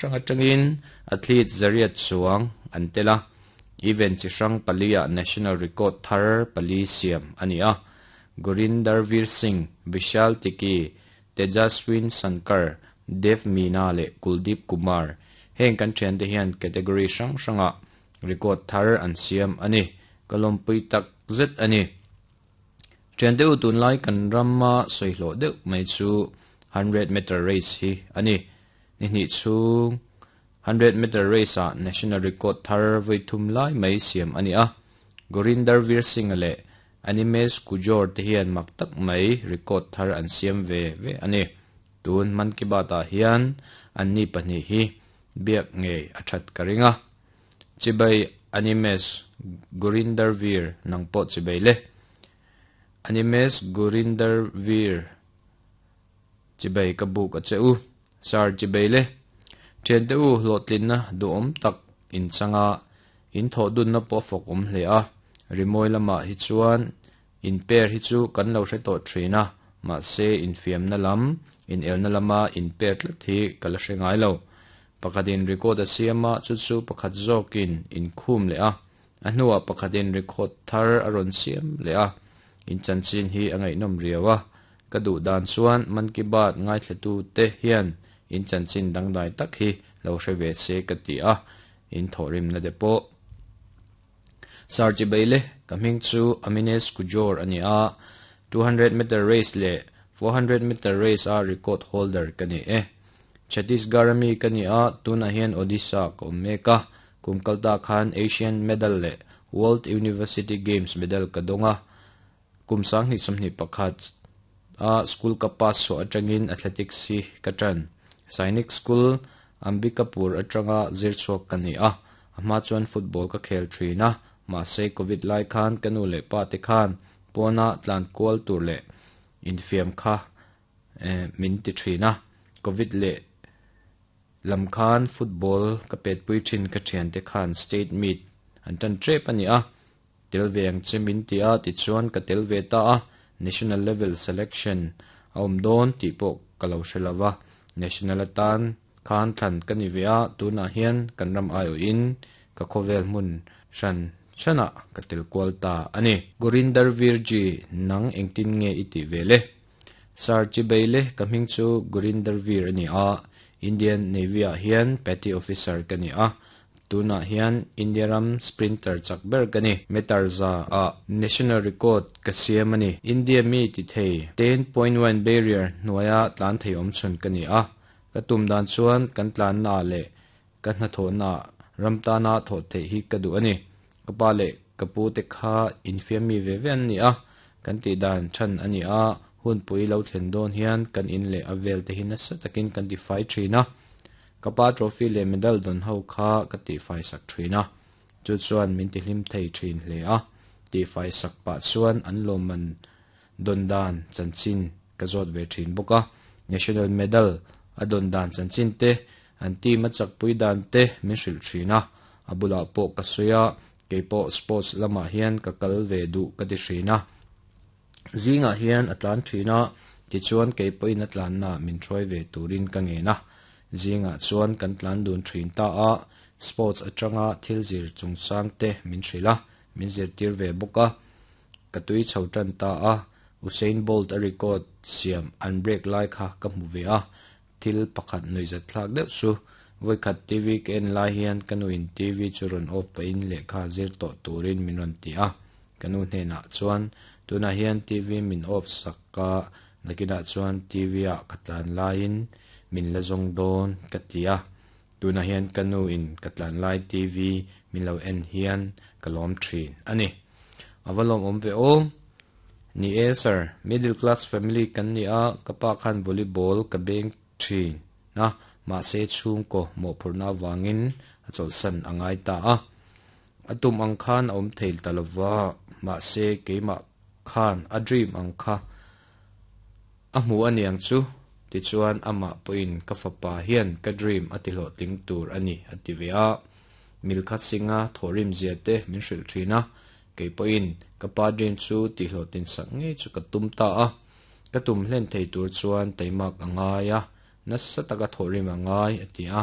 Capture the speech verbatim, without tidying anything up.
hrang atangin athlete zariat chuang an tel a event chi hrang pali ah national record thar pali siam ani a Gurinder Veer Singh Vishal Tiki Tejaswin Sankar Dev Meena leh Kuldeep Kumar heng kan thian te hian category hrang hranga record thar an siam ani kalompui tak zet ani thian te u tunlai kan ramma soihlo deuh mai chu hundred meter race hi ani ni hnih chhung hundred meter race a national record thar voi thum lai mai siam ani a Gurinder Veer Singh leh Animesh Kujor te hian mak tak mai record thar an siam ve ve ani tun Man Ki Baat ah hian anni pahnih hi biak ngei a that ka ringa chibai Animesh Gurinder Veer nang pawh chibai le Animesh Gurinder Veer chibai ka buk a che u sar chibai le thian te u hlawhtlin na duhawm tak in changa in thawh dun na pawh fawk awm hle a rimawi lamah hi chuan in pair hi chu kan lo hre tawh thin a mahse infiam na lam in elna lama in pair tlat hi ka la hre ngai lo pakhatin record a siama chu chu pakhat zawkin in khum leh a a hnuah pakhatin record thar a rawn siam leh a in chanchin hi a ngaihnawm riau a ka duh dan chuan Man Ki Baat ngaithlatu te hian in chanchin dangdai tak hi lo hre ve se ka ti a in thawhrim na te pawh sar chibai le ka hming chu Aminesh Kujor ani a two hundred meter race leh four hundred meter race a record holder ka ni e Chhattisgarh ami ka ni a tunah hian Odisha ka awm mek a kum kalta khan Asian medal leh World University Games medal ka dawnga kum sang hnih sawmhnih pakhat a school ka pass chhuah atangin athletics hi ka tan Sainik School Ambikapur atanga zir chhuak ka ni a a hma chuan football ka khel thin a mahse covid lai khan ka nu leh pa te khan pawna tlan kual tur leh infiam kha min ti thin a covid leh lam khan football ka pet pui thin ka thian te khan state meet an tan trep ani a tel ve ang che min ti a ti chuan ka tel ve ta a national level selection a awm dawn tih pawh ka lo hre lova national atan khan thlan ka ni ve a tunah hian kan ram ai awh in ka khawvel hmun hran hrana ka tel kual ta ani Gurinder Veer ji nang engtin nge i ti ve le sar chibai le ka hming chu Gurinder Veer ani a Indian Navy ah hian petty officer ka ni a tunah hian India ram sprinter chak ber ka ni meter za a national record ka siam ani India mi ti thei ten point one barrier hnuaia tlan thei awm chhun ka ni a ka tum dan chuan kan tlan na leh ka hnathawh na ram tana thawh theih hi ka duh ani ka pa leh ka pu te kha infiam mi ve ve an ni a kan tih dan than ani a hun pui lo thlen dawn hian kan in leh a vel te hi nasa takin kan ti fai thin a ka pa trophy leh medal dawn ho kha ka ti fai sak thin a chu chuan min ti hlim thei thin hle a ti fai sak pah chuan an lawmman dawn dan chanchin ka zawt ve thin bawk a national medal a dawn dan chanchin te an team a chak pui dan te min hrilh thin a a bulah pawh ka sawi a keipawh sports lamah hian ka kal ve duh ka ti thin a zingah hian a tlan thin a tichuan keipawhin a tlan na min hruai ve turin ka ngen a zingah chuan kan tlan dun thin ta a sports atanga thil zir chungchang te min hrilh a min zirtir ve bawk a ka tui chho tan ta a Usain Bolt a record siam an break lai kha ka hmu ve a thil pakhat nuih zat thlak deuh chu voikhat T V ka en lai hian ka nu in T V chu rawn off pahin lehkha zir tawh turin min rawn ti a ka nu hnenah chuan tunah hian T V min off sak a nakinah chuan T V ah ka tlan laiin min la zawng dawn ka ti a tunah hian ka nu in ka tlan lai T V min lo en hian ka lawm thin ani awa lawm awm ve aw ni e sir middle class family kan ni a ka pa khan volleyball ka beng thin na mahse chhung ko mawhphurhna wangin a chawlhsan a ngai ta a a tum ang khan a awm thei ta lova mahse keimah khan a dream ang kha a hmu aniang chu tichuan amah pawhin ka fapa hian ka dream a ti hlawhtling tur ani a ti ve a Milkha Singh a thawhrim zia te min hrilh thin a keipawhin ka pa dream chu ti hlawhtlin sak ngei chu ka tum ta a ka tum hlen thei tur chuan taimak a ngai a nasa taka thawhrim a ngai a ti a